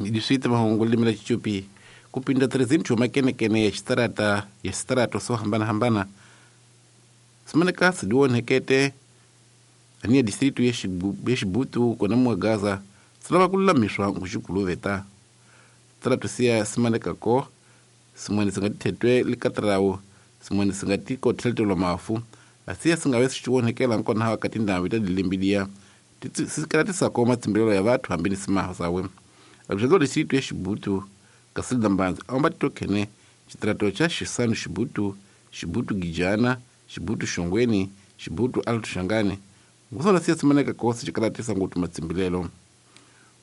Diswita mahungu limi la Xichupi ku pinda 300 makenekene ya xitarata ya xitarato swo hambanahambana simaneka sidiwonhekete aniya distritu ya Xibutu kona muwa Gaza silava ku lulamiswa nguxikuluveta tarato siya simanekako simwene singa tithetwe likatarawu simwene singa tikotheltelwa mafu asiya singave sixiwonhekela nkona hawa ka tindhawu ta dilimbidiya sikalatisako matsimbelelo ya vathu hambi ni simaho sawe aluxedzo distritu ya Xibutu Casilda Mbanzi aomba titokhene xitirato xa Xisanu Xibutu, Xibutu Gijana, Xibutu Xongweni, Xibutu Alto Xangani ngusona siya simaneka kosi xikalatisa ngopfu matsimbilelo.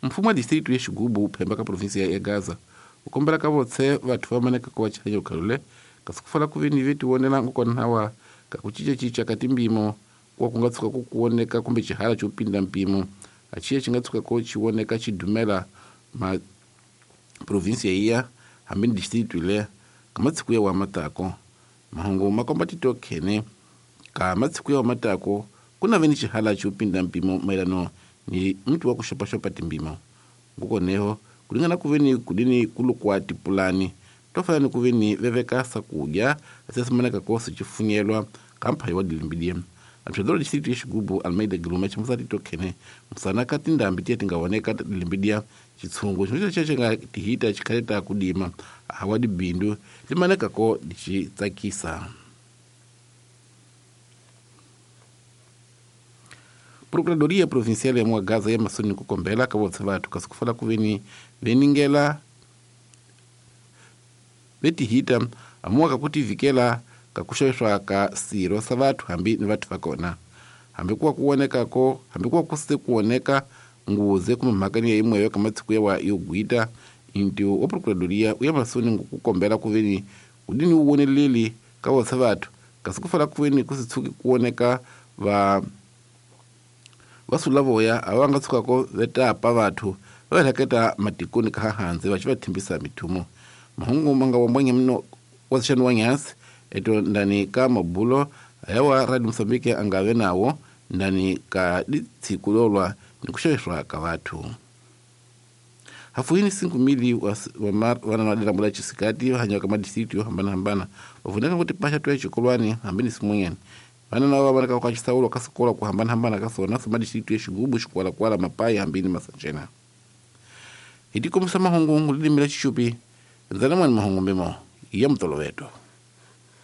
Mfumo wa distritu ya Xigubu wu phemba ka provinsia ya Gaza wu kombela ka votse vathu va maneka ko va chanya khalule kasi ku fala ku ve ni ve tivonela ngokona wa ka ku cincacinca ka timpimo kuwa ku nga tshuka ku kuwoneka kumbe xihala xo pinda mpimo axiya xi nga tshuka ko xi voneka xi dumela ma provinsia iya hambi ni distritu le ka matsiku ya wa matako mahungu ma komba titokhene ka matsiku ya wa matako ku na ve ni xihala xo pinda mpimo mayelano ni mti wa ku xopaxopa timpimo ngukoneho ku ringana ku ve ni kudini kulukwa tipulani to fana ni ku ve ni veveka sakudya asiasimaneka kosi xifunyelwa ka mphayi wa dilimbidiya amxadolo distritu ya Xigubu Almeida Giluma ximusa titokhene musana ka tindhambi tiya ti nga voneka dilimbidiya xitshungu xin'we xa xi nga tihita xikhaleta kudima hawa dibindu limanekako lixi tsakisa. Procuradoria Provincial ya Muagaza ya masoni ku kombela ka votse vathu kasi ku fala ku veni veningela vetihita amuwa ka ku tivikela ka ku xaviswa ka sirho sa vathu hambi ni vathu va kona hambi kuwa ku vonekako hambi kuwa ku se ku voneka nguze kumbe mhaka ni ya yimweyo ka matsiku yawa yo gwita inti wa procuradoria u ya masoni ku kombela ku veni kudini wu voneleli ka votse vathu kasi ku fala ku veni ku si tshuki ku voneka va vasulavoya a va nga tshukako vetapa vathu va heleketa matikoni ka hanze va xi va thimbisa mithumo mahungu ma nga wambwanya mino wa xani wa nyasi eto ndani ka mabulo ayawa Radio Mozambique a nga ve nawo ndani ka ditshiku lolwa ni ku xaviswa ka vathu hafuhini 5,000 wa vana va dilambo la xisikati va hanyaka madistritu yo hambanahambana va vuneka ku tipaxa to ya xikolwani hambi ni simun'wanyani vana lava va vonaka ka xisawulo ka swikolo ku hambanahambana ka swona swa madistritu ya Xigubu, Xikwalakwala, Mapayi hambi ni Masanjena. Hi tikombisa mahungu lilimi la Xichupi ndzana mwani mahungu mbimo ya mutoloveto.